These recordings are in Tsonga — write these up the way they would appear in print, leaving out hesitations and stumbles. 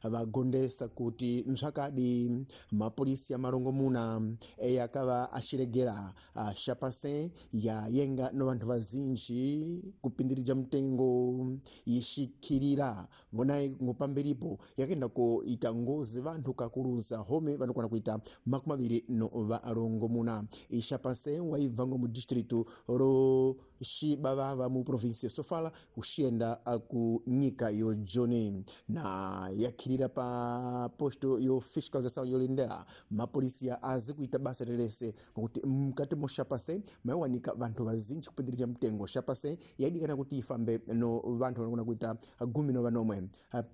Vagondesa kuti mzvakadi mapolisi amarongomuna eyakava achiregera shapase yayenga no vanthu vazinji kupindirija mtengo yixikirira vonayi ngo pamberipo yakaenda koita ngozi vanthu kakuluza home vanokwana kuita 26. Ixapase waibva ngo mu distrito ro Xibavava mu província ya Sofala uxiyenda ku nyika yo Joni na yakhirira pa posto yo fiscalização yolindela mapolisiya azi kuita basa lelese ngokuti mkati mo Xapase maiwanika vanthu vazinji kupindirija mtengo. Xapase yaidikana kuti ifambe no vanthu vanokona kuita 17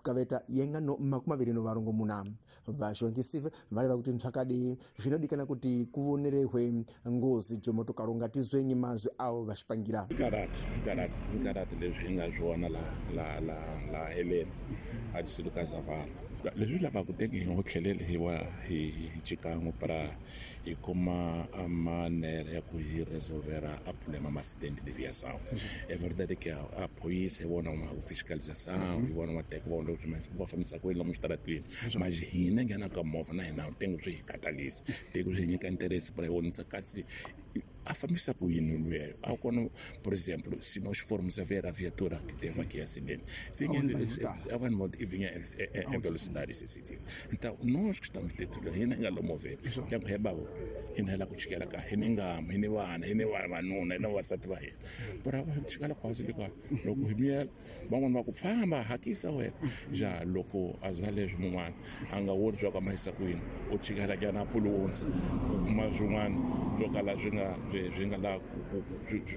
kaveta yenga no 26. Vaxongisive valeva kuti mphakadi zvinodikana kuti kuvonerehwe ngozi jomotokaro ngatizwenyi mazwi awo vaxipangira. Karati leswi hi nga swona la heleni a distrito ka Zavala leswi lavaka teke hi ngo tlhelele hi wa hi xikan'we para hi kuma a manera ya ku hi resolvera a problema ma acidente de viação. É verdade que a polícia vona uma fiscalização hi vona mateka vona loko va fambisa ku yini lomu xitaratini, mas hina nghena ka movha na hina tengo swi hi katalisa teko swi hi nyika interesse para hi vonisa kasi a fambisa ku yini luya a kona. Por exemplo, se nós formos a ver a viatura que teve aqui acidente, vinha a vanhu vinha em velocidade excessiva. Então nós que estamos dentro hina nga lomover yangu he babo hina la ku chikela ka hina ngam hina vana hina vavanuna hina vasati va hina para va chikela kwasi le ka loko hi miyela van'wana va ku famba hakisa wena ja loko a za leswi mun'wana a nga woni swa ku mahisa ku yini u chikela ka na pulowonsi u kuma swin'wana swo kala swi nga la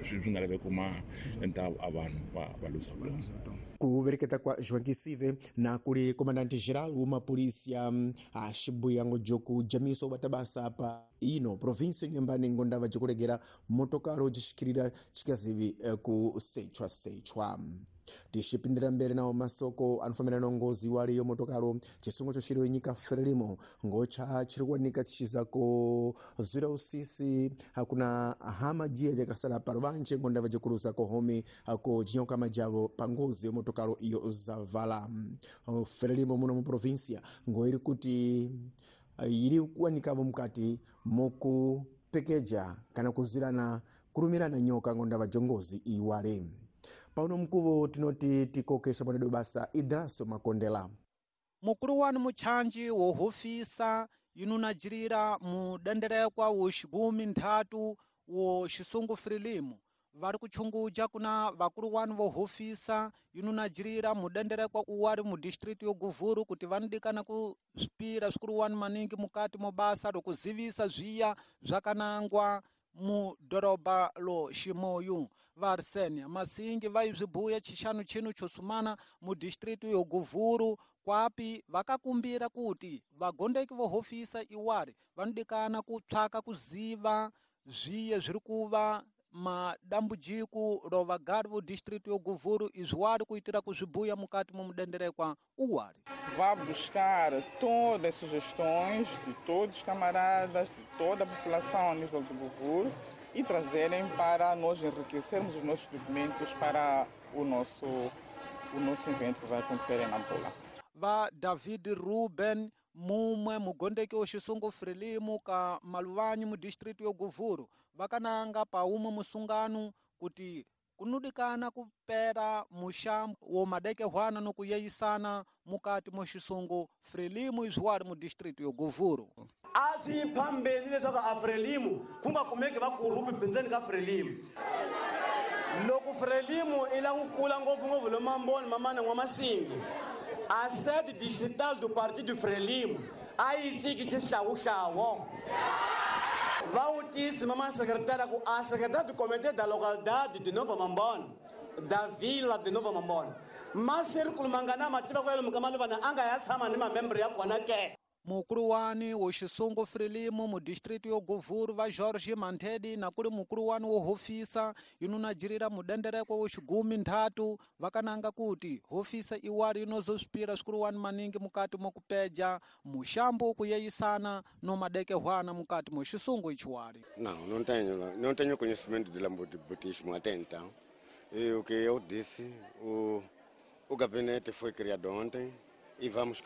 swi nga laveki ma endla a vanhu va luza vutomi. Ku vereketa kwa Joaquim na kuli comandante geral wa polícia a Xibuyango joku jamiso batabasa pa ino província Nyambani ngondava jikulegera motokaro jixikirira chikazivi ku sechwa sechwa. Tixipindira mbere nawo masoko anofambirana na ngozi waliyo motokaro chisungo choxiriwe nyika Frelimo ngocha chiri kuwanika chichizako zwira usisi hakuna hama jiya jakasala paruvanje ngondava jikuluza kohome ako jinyoka majavo pa ngozi yo motokaro iyo Zavala. Frelimo muno mu província ngoiri kuti iri kuwanikavo mukati mokupekeja kana kuzwirana kulumirana nyoka ngondava jongozi iwale. Pauno mkuvo tinoti tikokesha mwanedo basa Idraso Makondela. Mukulu wanu muchanji wo hofisa inunajirira mudenderekwa wo xigumi nthatu wo xisungu Frelimo vari kuchunguja kuna vakulu wanu vo hofisa inunajirira mudenderekwa uwari mu district yo Guvuru kuti vanodikana kusvipira svikulu wanu maningi mukati mo basa lokuzivisa zviya zvakanangwa mu doroba lo Ximoyu. Va Arsenia Masingi vaizvibuya chixanu chino chosumana mu district yo Guvuru kwapi vakakumbira kuti vagondeki vo hofisa iwari vanodikana kutsvaka kuziva zviye zviri kuva madambudziko ro vagari vo district yo Guvuru izvi wari kuitira kuzvibuya mukati momudenderekwa uwari. Vá buscar todas as sugestões de todos os camaradas, de toda a população a nível do Guvuru e trazerem para nós enriquecermos os nossos documentos para o nosso evento que vai acontecer em Nampula. Va David Ruben mumwe mugondeki wo xisungu Frelimo ka Maluvanyi mu district yo Guvuru vakananga pa umwe musungano kuti kunudikana kupera muxambo wo madekehwana no kuyeyisana mukati mo xisungu Frelimo izwi wari mu district yo Guvuru. A swi phambeni leswaku a Frelimo ku nga kumeki vakurupi bindzeni ka Frelimo. Loko Frelimo i la ku kula ngopfungopfu lo mamboni mamana n'wamasingi a sede distrital do partido Frelimo a yi tsiki xihlawuhlawu. Va vutisi mama secretária ku a secretária do comitê da localidade de Nova Mambone da vila de Nova Mambone masirikulu mangana ma tiva ku yalomu ka maluvana a nga ya tshama ni mamembro ya kona ke. Mukulu wani wo xisungu Frelimo mu district yo Guvuru va George Mantedi na kuli mukulu wani wo hofisa inunajirira mudenderekwa wo xigumi nthatu vakananga kuti hofisa iwari inozosvipira svikulu wani maningi mukati mokupeja muxambo kuyeyisana no madekehwana mukati mo xisungu ichiwari. Não, não tenho conhecimento de lambotismo até então. E o que eu disse, o gabinete foi criado ontem. E vamos